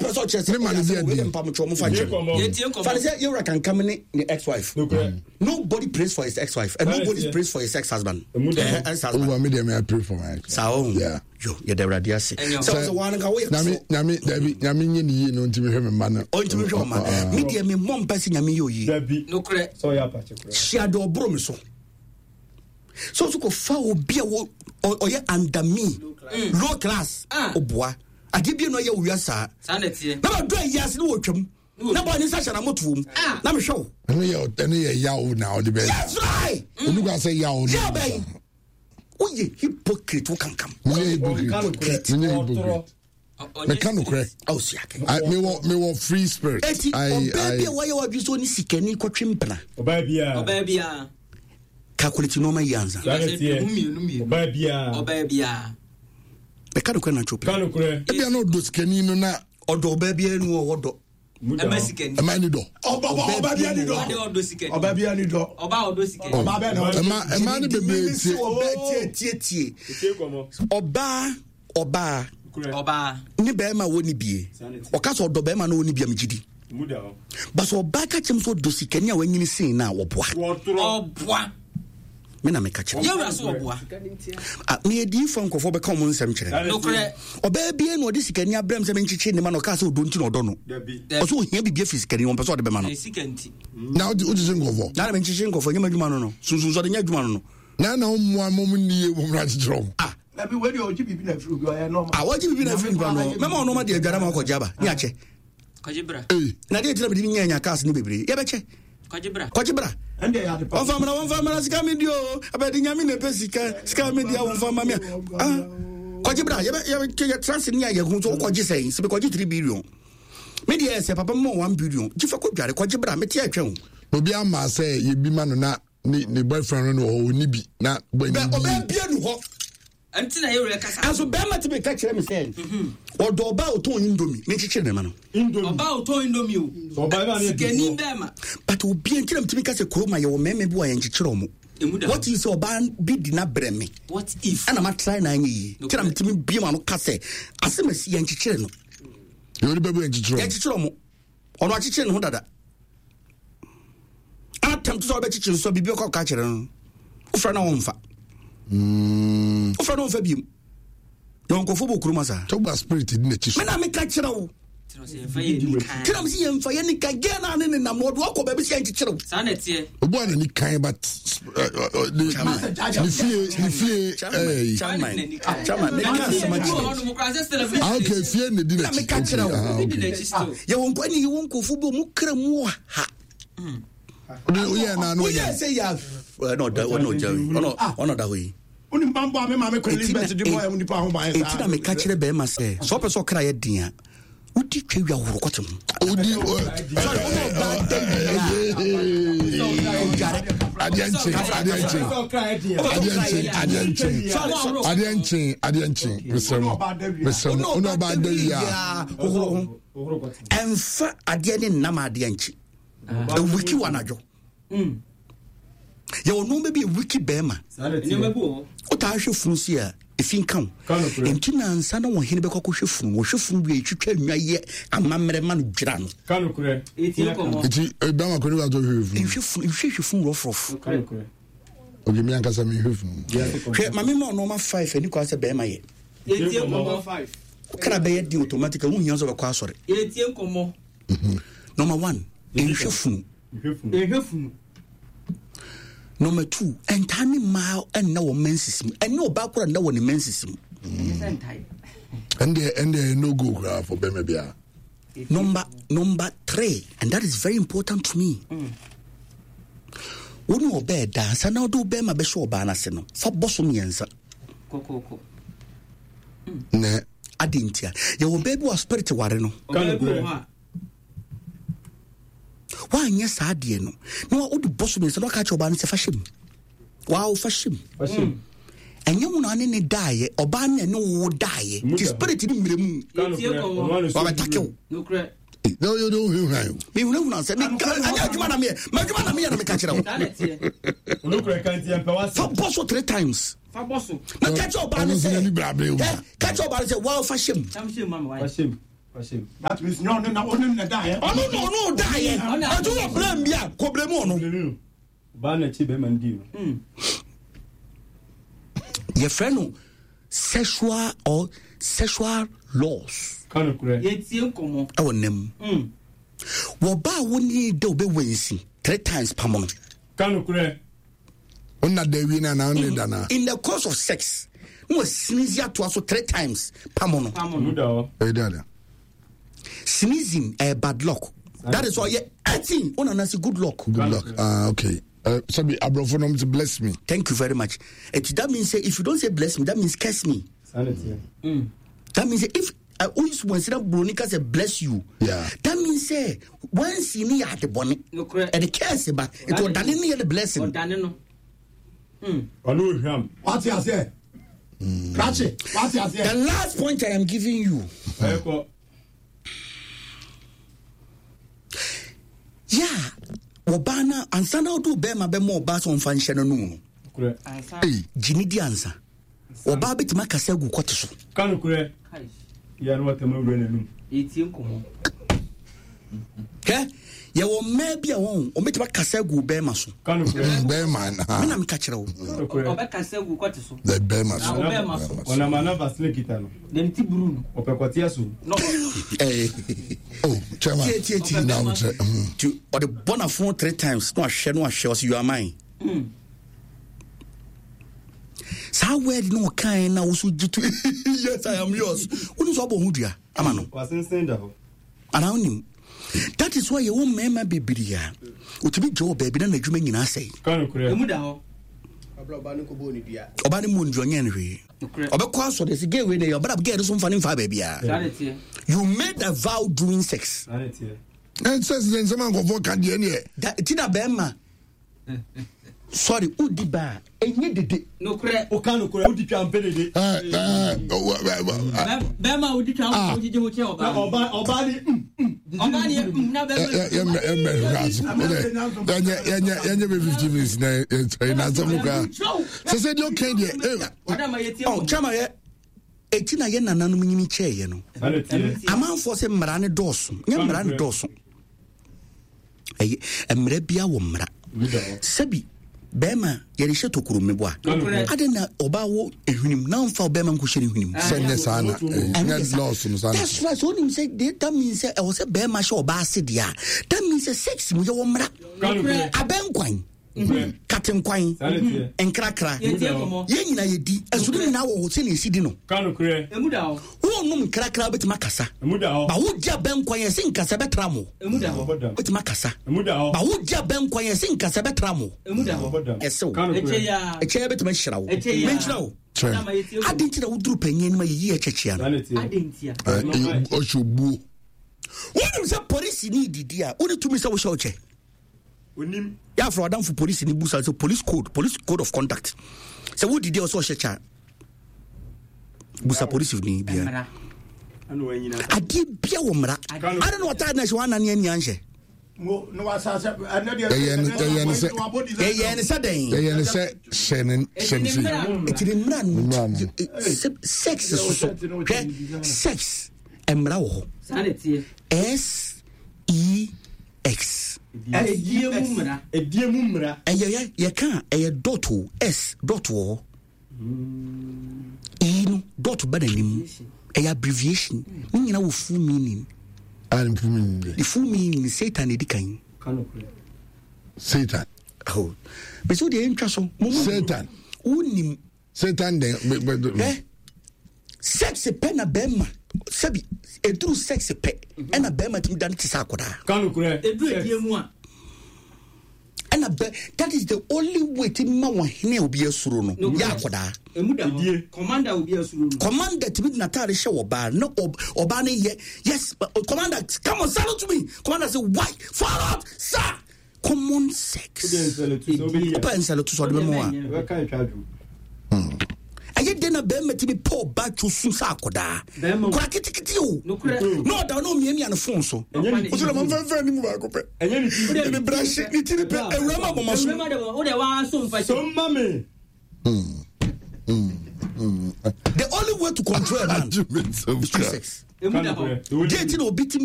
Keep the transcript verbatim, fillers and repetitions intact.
Wopɛ sɛ ɔkyerɛ sɛ Ne ma no ɛyɛ bi asɛm adi. wei de mpamotwerɛ mo fa nkyɛn. Yɛtie nkɔmmɔ. Fa ne sɛ yɛwura kankam ne ne ex-wife. Nobody prays for his ex-wife and nobody prays for his ex-husband. Eh, ex-husband. Over me deɛ me I pray for my ex. Saa ɔho. Yeah. Yo, yɛda Awurade ase. Ɛnyɛ Sɛ wo sɛ woa no nka woyɛ Nyame so. nyame dabi nyame nye ne yie no ntumi hwɛ me mma no. Ɔntumi hwɛ ɔma. Ah, Me deɛ memmɔ mpa sɛ Nyame yɛ oyi. Dabi. Nokorɛ. Sɛ ɔyɛ apakye koraa. Hyia deɛ ɔboro me so. Sɛ wo so kɔfa obi a wo- ɔ- ɔyɛ under me, low class, Ah. ɔboa. Adeɛ bie na ɔyɛ wo wia saa. Saa na ɛteɛ. Na madɔ ayi ase ne wɔtwam. Na bɔ ne nsa hyɛ n'amotoɔ mu. Ah. Na mehwɛ wo. Ɛno yɛ ɛno yɛ yaw na ɔde bɛ. That's right. Onu ka sɛ yaw no. Yaw bɛn. Woyɛ hypocrite wo kankam. Menyɛ hypocrite. Menyɛ hypocrite. Ɔ- ɔnyɛ Meka nokorɛ. Awo si ake. I mewɔ mewɔ free spirit. Eti I ɔbaa bi I a wayɛ wadwi sɛ ɔne sikani kɔtwe mpena. Ɔbaa biara. Ɔbaa biara. Calculate nneɛma yi ansa. Saa na ɛteɛ. Mmienu mmienu. Ɔbaa biara. Ɔbaa biara. Meka nokorɛ na ntwo Ka pɛ. nokorɛ. ebia na ɔdɔ sikani no na Ɔdɔ ɔbaa biara nu ɔwɔ dɔ. Mu da Ɛma hɔ. sikani. ɛma ni dɔ. Ɔba ɔba bi ani Ɔde dɔ. ɔdɔ sikani. Ɔba bi ani dɔ. Ɔbaa ɔdɔ sikani. Ɔba bɛ na ɔdɔ. Ɛma ɛma ne bebree tie. Ɔbaa tie tie tie. Tie nkɔmmɔ. Ɔbaa ɔbaa Nokorɛ. Ɔbaa. ne bɛrima a wɔni bie. Ɔka sɛ ɔdɔ bɛrima na ɔni bie a megye di. Mu da hɔ. Ba sɛ ɔbaa ka kyerɛ m sɛ ɔdɔ sikani a wanyini sen no a wɔboa. Wɔtorɔ. Ɔboa. Me na meka kyerɛ. Yɛwura so ɔboa. Ah, meyɛ diifoɔ nkurɔfoɔ bɛka ɔmo nsɛm kyerɛ. Saa na ɛteɛ. Nokorɛ. Ɔbaa bie na ɔde sikani abrɛ m sɛ menkyekye ne ma na ɔkaa sɛ ɔdɔ nti na ɔdɔ no. Dabi. Ɔsɛ ohia biribi afiri sikani no ɔmpɛ sɛ ɔde bɛma no. Ɛyɛ sika nti. Na wogye wogye nkɔfɔ. Na na menkyekye nkɔfoɔ nyɛ m'adwuma no no. Sunsunsɔde nyɛ adwuma no no. Na na ɔmmoa mo mo nni yie mo mmra kyekyerɛ ɔmo. Ah, Dabi wei deɛ ɔgye biribi na afiri obi ɔyɛ nɔɔma. ah wɔgye biribi na afiri nipa no. Mɛma ɔno ma deɛ adware ma ɔkɔgye aba. Ne akyɛ. Kɔgye bra. Ee Na deɛ ɛgyina mede nya nya cars ne bebree. Yɛbɛkyɛ. Kɔgye bra. Kɔgye bra. Ɛnde yɛ ade pa. Wɔmfa mmra wɔmfa mmra sika me di o. Abɛde nyame na ɛpɛ sika. Sika me di a wɔmfa mma me a. Ah. Kɔgye bra. Yɛbɛ yɛbɛ yɛtra ase ne a yɛhu so wokɔgye sɛn. Sɛ mekɔgye three billion. Me deɛ sɛ papa mma one billion. Gye fa kɔdware kɔgye bra. Mete atwɛn o. obi ama sɛ yɛbi ma no na ne ne boyfriend no wɔ hɔ ɔni bi na boy Bɛ ni ɔbaa bi. bia nu hɔ. Ɛnti na yɛwura kasa. Ɛnso bɛrima ti mi ka kyerɛ mi sɛ ɔdɔ ɔbaa a ɔtɔn indomie ne nkyekyere ne ma no. Indomie. Ɔbaa ɔtɔn indomie o. Sɛ ɔbaa bi a ne yɛ Sikani difoɔ. bɛɛma. But obi nkyerɛ mi ti mi ka sɛ kurom a yɛwɔ mmarima bi wɔ a yɛn nkyekyere ɔmo. Emu da hɔ. What if sɛ ɔbaa bi di n'abrɛ mi What if? ɛna ma try na anyɛ yie kyerɛ mi ti mi bie ma no ka sɛ asɛm asi yɛn nkyekyere no Yɛ onipa bi yɛ nkyekyerɛ yɛn ɔmo. nkyekyere ɔmo ɔno akyekyere ne ho dada. Atam to sɛ ɔbɛkyekyere nso biribi ɔkɔ ɔka kyerɛ no wofrɛ na wɔmfa wofrɛ na wɔmfa biem yɛwɔ nkɔfoɔ bɔ kurom asa. Tɔgba spirit di n'akyi so. Me na meka kyerɛ wo. Kyerɛ sɛ yɛmfa yɛ ni kan. Kyerɛ m sɛ yɛmfa yɛne ka gɛ na ne nenam ɔde wakɔ baabi sɛ yɛnkyekyere wo. Saa na ɛteɛ. Obi a n'ani kan but ɛ, ɛ, ɛ, ne ne fie ne fie ɛɛ Chairman, chairman, meka asɛm akyerɛ ah okay fie na di na n'akyi. meka kyerɛ Okay, wo. ah, Obi di okay. n'akyi still. Yɛwɔ nkɔ ne yɛwɔ nkurɔfoɔ bi ɔmo kra mu wɔ ha. Ɔde oyɛ na ano woyɛ yɛ. sɛ yɛ ɔna ɔda ɔna ɔgya yi ɔna ɔna ɔda hɔ yi. Wonim bambɔ a me maame Queen Elizabeth de bɔɔ ɛmu nipa ho ban saa. Eti na meka kyerɛ bɛrima sɛ sɛ ɔpɛ sɛ ɔkra yɛ den a wodi twa wia horo kɔte ho. Odi Sorry, wone ɔbaa da wie a ɔdware. adeɛ nkye adeɛ nkye Sɛ ɔkra yɛ den a. adeɛ nkye adeɛ nkye adeɛ nkye adeɛ nkye mesrɛ mo mesrɛ mo ɔne ɔbaa da wie a hohoro ho. Ɔhoro kɔte. Ɛmfa adeɛ ne nnam adeɛ nkye. Ewiki wɔ anadwo. Yɛwɔ nneɛma bi a ewiki bɛrima. Saa na Nneɛma ɛteɛ. bi wɔ hɔ. Wotaa hwɛ funu si a efi nka wo. Ka nokorɛ. Nti nansa na wɔhene bɛkɔ akɔhwɛ funu wɔhwɛ funu wie twitwa nnwa yɛ amammerɛ ma no dwira no. Ka nokorɛ. Yɛtie nkɔmmɔ. nti bɛrima kɔ ne wa tɔ hwɛ funu. Nhwɛ funu nhwɛ funu rɔfrɔf. Ka nokorɛ. Okay, mi ankasa mi hwɛ funu. Hwɛ maame ma ɔnɔɔma five ani kɔ asɛ bɛrima yɛ. Yɛtie nkɔmmɔ. Wokra bɛyɛ den automatic a wohia sɛ wobɛkɔ asɔre. Yɛtie nkɔmmɔ. Number one, nhwɛ funu. Nhwɛ funu. Yɛhwɛ funu. Number two, ɛntaa ne mmaa ɛnna wɔ menses mu. Ɛne ɔbaa kora nna wɔ ne menses mu. Ɛnyɛ sɛ ntae. Ɛndeɛ ɛndeɛ no go koraa for bɛrima biara. Number number three, and that is very important to me. Wo ne ɔbaa da ansa na wode wo bɛrima bɛhyɛ ɔbaa no ase no, fa bɔ so mmiɛnsa. Kɔkɔkɔ. Nɛ Ade ntia. Yɛwɔ baa bi wɔ spirit ware no. Ka Ɔbaa bi wɔ nokorɛ. hɔ a. Woanyɛ saa adeɛ no na wa- wode bɔ so mmiɛnsa na waka kyerɛ ɔbaa no sɛ fa hyɛ mu. Waa wo fa hyɛ mu. Fa hyɛ mu. Ɛnyɛ wo na ne ne daeɛ, ɔbaa no na ɛne wo daeɛ. Mu Nti da. spirit no mmerɛ mu. Ka Yɛtie nokorɛ. nkɔmmɔ. Ɔno ano so Wabɛtake wo. Nokorɛ. na oyɛ de ohwehwɛ ayo. Mehunahuna sɛ meka ɛnyɛ adwuma na meyɛ. M'adwuma na meyɛ na meka kyerɛ wo. Saa na ɛteɛ. Ɔno kura ka nti yɛmpɛ w'asɛm. Fa bɔ so three times. Fa bɔ so. Na ka kyerɛ ɔbaa no Ɔno nso sɛ n'ani bere abere wo. Ɛ, ka kyerɛ ɔbaa no sɛ waa fa hyɛ mu. Tam hyɛ mu ama Fa wayɛ. hyɛ mu. That means no no no ɔno na daeɛ. Ɔno na ɔno daeɛ. Ɛti wɔ blame bi a kɔ blame ɔno. Ɔbaa na akyi bɛrima no dii no. Yɛfrɛ no sexual or sexual laws. Ka nokorɛ. Yɛtie nkɔmmɔ. Ɛwɔ nam. Wɔba a wo ne da wobɛwɔ three times pam no. Ka nokorɛ. Onna da wie na na ne da na. In the course of sex, no sneeze atoa so three times pam no. Mu da hɔ. Ɛyɛ dada. Sneezing eh, bad luck. That is why yeah, eighteen. Oh, no, good luck. Good luck. Ah, okay. Uh, sabi abrofo nom to bless me. Thank you very much. It, that means say, if you don't say bless me, that means curse me. Sanity. Mm. That means if I always once that Bronica say bless you. Yeah. That means say once you need the bonnet Nokorɛ. and the curse ba it will dane near the blessing. Ɔdane no. Ɔno ohwam. Wate aseɛ. Krakye wate aseɛ. The last point I am giving you. Ɛkɔ. Yeah. Wɔbaa na ansa na wode wo bɛrima bɛma ɔbaa sɛ ɔmfa nhyɛ no no mu no Nokorɛ. Ansa. Hey. gye ne di ansa ɔbaa bɛtumi akasa agu kɔte so Ka nokorɛ. Kai. Yɛ no wɔtɛm awura n'anum. Yɛtie nkɔmmɔ. Hwɛ, yɛwɔ mmaa bi a wɔn ɔmɛtumi akasa agu wo bɛrima so Ka nokorɛ. Bɛrima na. me na meka kyerɛ wo Ka nokorɛ. Ɔbɛkasa gu kɔte so. The bɛrima so. Na ɔbɛrima so. Ɔnam ana vaseline kita no. Na ne ti buru no. Ɔpɛ kɔteɛ so. Na Eh, Oh, chairman. Tie, tie, tie. Na wo kyerɛ. Mm. nti ɔde bɔ n'afono three times na wahwɛ na wahwɛ ɔsɛ you are mine saa word na ɔkae na wo so gye to yes I am yours wone sɛ ɔbɔ ho dua ama no Wasensen da hɔ. anaa wonim that is why yɛwɔ mmarima bebree a ɔtumi gye wɔ baabi na n'adwuma nyinaa sɛe Ka nokorɛ. emu da hɔ. Ɔbaa no kɔbɔɔ ne dua. ɔba no mu ndua ɔnyɛ no hwee Nokorɛ. ɔbɛkɔ asɔre sɛ gay wei na ɛyɛ ɔbɛda gay no so mfa ne mfa baabiaa Saa de teɛ. you made a vow during sex Saa ne teɛ. Ɛnsɛ sɛ nsɛm ankɔfoɔ ka deɛ neɛ. Da- ti na bɛrima sorry wodi ba a ɛnyɛ dede Nokorɛ. Woka nokorɛ. Wodi twa mpɛ dede. Eh, eh, oh, eh, eh, Bɛrima a wodi twa Ah. wo gyegye ho kyɛ Na ɔbaa. ɔbaa ɔbaa ni mm mm. Ɔbaa ne mm na eh, bɛrima. eh, yɛmmɛ yɛmmɛ hwɛ aso. Yɛnyɛ yɛnyɛ yɛnyɛ bɛ fifteen minutes na yɛn na asɛm no koraa. Sɛ sɛ deɛ ɔka deɛ eh, Ɔda ma yɛtie ɔ nkɔmmɔ. kyama yɛ ɛti na yɛ nananom nyini kyɛɛyɛ no Saa ne teɛ. amanfoɔ sɛ mmara ne dɔɔso nyɛ mmara ne dɔɔso ɛyɛ mmara bia wɔ mmara Mu da hɔ. sɛbi bɛrima yɛde hyɛ tokuro mmeboa Nokorɛ. ade na ɔbaa wɔ ehwenem na ɔmfa ɔbɛrima nkɔhyɛ ne hwenem sɛ nyɛ saa na eh, Ɛno nyɛ yɛ saa. lɔɔso no saa na. That's right. So wonim sɛ de- that means sɛ ɛwɔ sɛ bɛrima hyɛ ɔbaa ase deɛ a that means sɛ sex mu yɛwɔ mmara Ka nokorɛ. abɛnkwan Nokorɛ. katenkwan Saa ne teɛ. nkrakra Yɛtie nkɔmmɔ. yɛn nyinaa yɛdi ɛso ne nyinaa wɔ hɔ sɛnea ɛsi di no Ka nokorɛ. Emu da hɔ. wonom nkrakra wobɛtumi akasa Emu da hɔ. ba wodi abɛnkwan yɛ sɛ nkasa bɛtra mo Emu da hɔ. Ɔbɔ dam. wobɛtumi akasa Emu da hɔ. ba wodi abɛnkwan yɛ sɛ nkasa bɛtra mo Emu da hɔ. Ɔbɔ dam. ɛsɛ wo Ka Ɛkyɛ nokorɛ. yaa. ɛkyɛ bɛtumi ahyira wo Ɛkyɛ yaa. menkyerɛ wo Kyerɛ. Ɔda ma yɛtie ade nkɔmmɔ. nti na woduru panyin anim a yɛyi ɛkyɛkyea no Saa ne teɛ. Ade ntia. Eh, eh, ɔhyɛ obuo. wonim sɛ polisi ne didi a wone tumi sɛ wohyɛ wo kyɛ Onim. yɛafrɛ wadamfo polisi ne busa sɛ police code police code of conduct sɛ wodidi a wɔ sɛ ɔhyɛ kyɛ a busa polisi ni bia Mmara. Ɛna wanyina. adeɛ bia wɔ mmara ade na wɔtaa na hyɛ woanane ani anhyɛ Mo na wasase ɛnɛ deɛ. Yɛyɛ no- yɛyɛ no sɛ- yɛyɛ ne sɛ dɛn Yɛyɛ no sɛ hyɛ ne hyɛ ne Ɛti sei. ne mmara. ɛti ne mmara no Mmara no. eh, sɛ- sex soso hwɛ sex mmara wɔ hɔ Saa de teɛ. s e x Ɛdie mu mmara. Edie mu mmara. ɛyɛ yɛ yɛka a ɛyɛ dot o s dot wɔ hɔ e no dot ba n'anim ɛyɛ abbreviation ne nyinaa wɔ full meaning Ah, ne full meaning deɛ. the full meaning satan na ɛdi kan Ka nokorɛ. Satan. oh bɛsɛ wodeɛ yɛntwa so Mo- mo- Satan. wonim Satan den. bɛ- bɛ- ɛ sex pɛ na bɛrima sɛbi ɛduru sex pɛ ɛna bɛrima tumi dane te sɛ akɔdaa Ka nokorɛ. Edu edie mu a. ɛna bɛ that is the only way ti ma wɔn hene a obi asuro no Nokorɛ. yɛ akɔdaa Emu da hɔ. Edie. Commander obi asuro no. commander tumi de n'ataade hyɛ ɔbaa na ɔb- ɔbaa no yɛ yes uh, commander come on salute to me commander say why forward sir common sex Wode nsɛlɛtu sɛ wobɛyi a. ɔpɛ nsɛlɛto sɛ ɔde bɛma wo a Ɛbɛka etwa adwo. ɛyɛ dɛn na bɛrima tumi pɛ ɔbaa two sun sɛ akɔdaa Bɛrima o. kora ketekete o Nokorɛ. na ɔda na ɔmiamia ne phone so Ɛnyɛ ne ɔsɛ dɛ mamfɛmfɛ ne mu baako pɛ Ɛnyɛ ne ti. ɛne brahye ne tiri pɛ awura ma abɔma so Ewura ma de wo de wa so mfa So mma me. the only way way to control a man Arguments of is through crap. sex. Emu da hɔ. Deɛ nti na obi tumi